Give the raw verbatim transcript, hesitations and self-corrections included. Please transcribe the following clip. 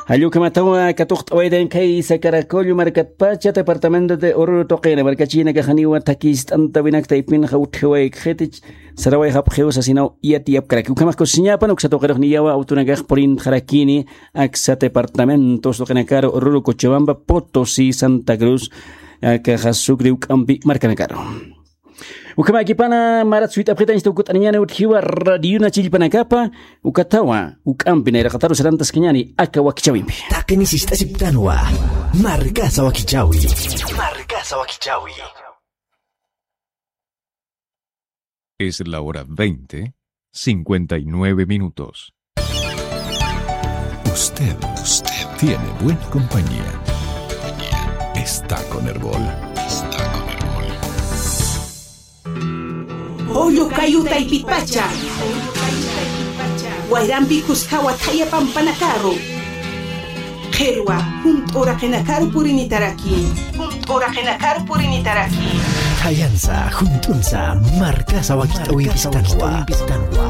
Jallukhamatawa katuqt'awaytan khaysa Caracollo markatpacha, departamento de Oruro tuqina markachinakaxaniwa thakist'antawinakta ipinxa utjiwaykaxitich. Sarawayxapxiw sasinaw yatiyapkaraki. Ukhamax kusiñapan uksa tuqirux niyawa awtunakax purintxarakini aksa departamentos tuqinakaru Oruro, Cochabamba, Potosí, Santa Cruz, akaxa Sucre, uk'ampi markanakaru. Ukhamakipana marat suyt'apxitañsta ukut'aniñana utjiwa radiona chillpanakapa. Ukatawa uk'ampi nayraqataru sarantaskañani aka wakichawimpi. Taqini sist'asiptanwa. Markasa wakichawi. Markasa wakichawi. Es la hora veinte, cincuenta y nueve minutos. Usted, usted tiene buena compañía. Está con Erbol. Está con Erbol. Julio kayu taypitpacha. Wayrampi kuskawa thaya pampanakaru. Qhirwa, junt'u uraqinakaru purinitaraki. Junt'u uraqinakaru purinitaraki. Thayansa, junt'unsa, markasa wakich'awimpistanwa.